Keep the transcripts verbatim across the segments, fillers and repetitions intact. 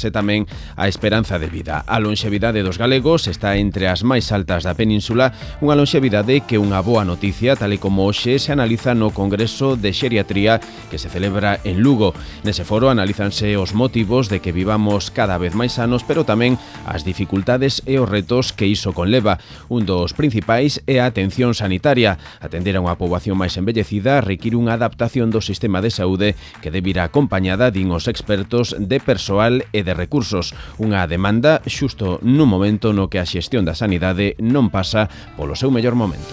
achegarse tamén a esperanza de vida. A lonxevidade dos galegos está entre as máis altas da península, unha lonxevidade que unha boa noticia, tal e como hoxe se analiza no Congreso de Xeriatría que se celebra en Lugo. Nese foro analízanse os motivos de que vivamos cada vez máis sanos, pero tamén as dificultades e os retos que iso conleva. Un dos principais é a atención sanitaria. Atender a unha poboación máis envellecida require unha adaptación do sistema de saúde que debe ir acompañada, din os expertos, de persoal e de recursos. Unha demanda xusto nun momento no que a xestión da sanidade non pasa polo seu mellor momento.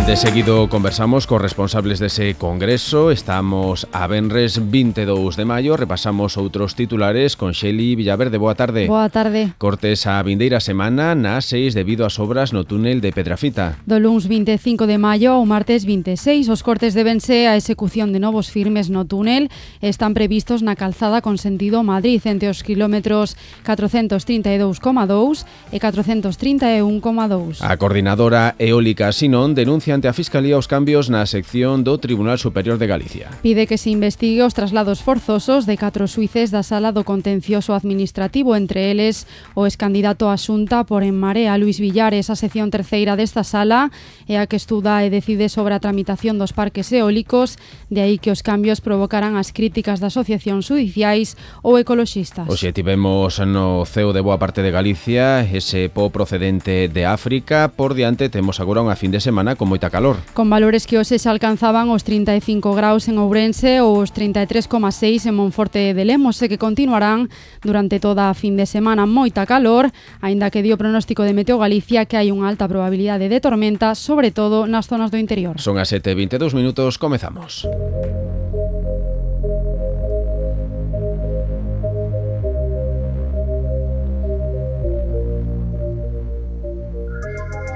De seguido conversamos cos responsables dese congreso. Estamos a venres vinte e dous de maio. Repasamos outros titulares con Xeli Villaverde. Boa tarde. Boa tarde. Cortes a vindeira semana na A seis debido ás obras no túnel de Pedrafita. Do luns vinte e cinco de maio ao martes vinte e seis, os cortes debense a execución de novos firmes no túnel. Están previstos na calzada con sentido Madrid entre os kilómetros catrocentos trinta e dous coma dous e catrocentos trinta e un coma dous. A coordinadora eólica Sinón denuncia ante a Fiscalía os cambios na sección do Tribunal Superior de Galicia. Pide que se investigue os traslados forzosos de catro xuíces da Sala do Contencioso Administrativo, entre eles o excandidato a Xunta por En Marea, Luís Villares. A sección terceira desta sala é a que estuda e decide sobre a tramitación dos parques eólicos, de aí que os cambios provocaran as críticas de asociacións judiciais ou ecoloxistas. Hoxe tivemos no ceo de boa parte de Galicia ese po procedente de África. Por diante temos agora unha fin de semana con moita calor. Con valores que hoxe se alcanzaban os trinta e cinco graus en Ourense ou os trinta e tres coma seis en Monforte de Lemos, e que continuarán durante toda a fin de semana. Moita calor, aínda que dio pronóstico de Meteo Galicia que hai unha alta probabilidade de tormenta, sobre todo nas zonas do interior. Son as sete e vinte e dous minutos, comezamos.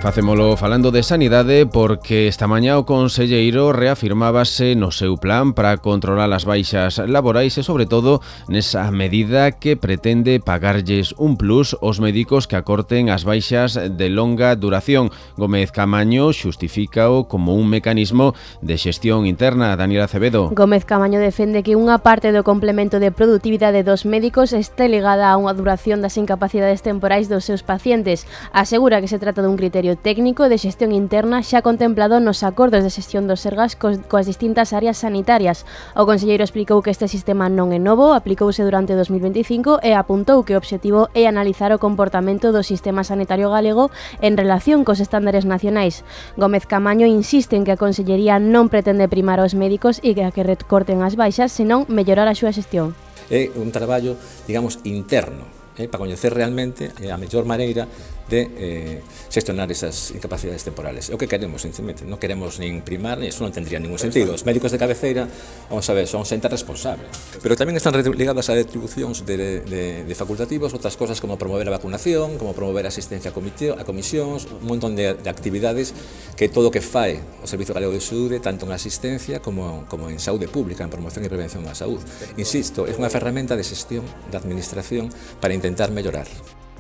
Facémolo falando de sanidade porque esta mañá o conselleiro reafirmábase no seu plan para controlar as baixas laborais e, sobre todo, nesa medida que pretende pagarlles un plus aos médicos que acorten as baixas de longa duración. Gómez Camaño xustifícao como un mecanismo de xestión interna. Daniela Acevedo. Gómez Camaño defende que unha parte do complemento de produtividade dos médicos este ligada a unha duración das incapacidades temporais dos seus pacientes. Asegura que se trata dun criterio técnico de xestión interna xa contemplado nos acordos de xestión dos sergas cos, coas distintas áreas sanitarias. O conselleiro explicou que este sistema non é novo, aplicouse durante dos mil veinticinco e apuntou que o obxectivo é analizar o comportamento do sistema sanitario galego en relación cos estándares nacionais. Gómez Camaño insiste en que a consellería non pretende primar aos médicos e que a que recorten as baixas, senón mellorar a súa xestión. É un traballo, digamos, interno, eh, para coñecer realmente a mellor maneira de eh, xestionar esas incapacidades temporales. É o que queremos, sinceramente. Non queremos nin primar, e iso non tendría ningún sentido. Os médicos de cabeceira, vamos a ver, son xente responsable. Pero tamén están ligadas a atribucións de, de, de facultativos, outras cosas como promover a vacunación, como promover a asistencia a, comité, a comisións, un montón de, de actividades que todo o que fai o Servizo Galego de Saúde, tanto en asistencia como, como en saúde pública, en promoción e prevención da saúde. Insisto, é unha ferramenta de xestión da administración para intentar mellorar.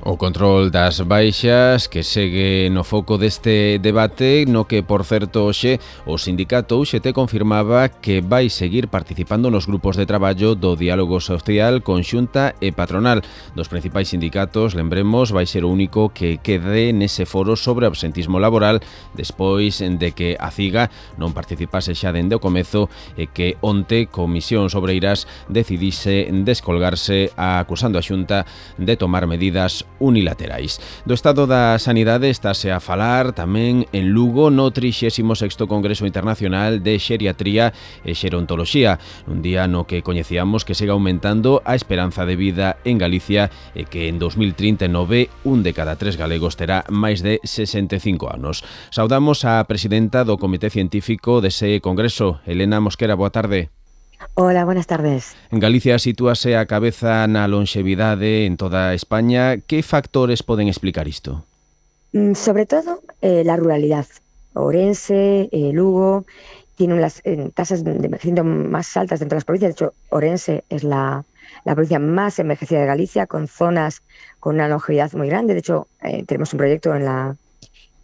O control das baixas que segue no foco deste debate, no que, por certo, hoxe o sindicato U X T confirmaba que vai seguir participando nos grupos de traballo do diálogo social con Xunta e patronal. Dos principais sindicatos, lembremos, vai ser o único que quede nese foro sobre absentismo laboral despois de que a CIGA non participase xa dende o comezo e que onte Comisións Obreiras decidise descolgarse acusando a Xunta de tomar medidas unilaterais. Do estado da sanidade estáse a falar tamén en Lugo no trixésimo sexto Congreso Internacional de Xeriatría e Xerontoloxía, un día no que coñecíamos que segue aumentando a esperanza de vida en Galicia e que en dos mil trinta e nove un de cada tres galegos terá máis de sesenta e cinco anos. Saudamos a presidenta do Comité Científico dese Congreso, Elena Mosquera, boa tarde. Hola, buenas tardes. En Galicia sitúase a cabeza na lonxevidade en toda España. Que factores poden explicar isto? Mm, sobre todo, eh, la ruralidad. Ourense, eh, Lugo, tienen las eh, tasas de envejecimiento más altas dentro de las provincias. De hecho, Ourense es la, la provincia más envejecida de Galicia, con zonas con una longevidad muy grande. De hecho, eh, tenemos un proyecto en la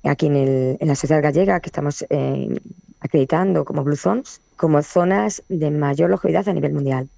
aquí en, el, en la sociedad gallega que estamos eh, acreditando como Blue Zones, como zonas de mayor longevidad a nivel mundial.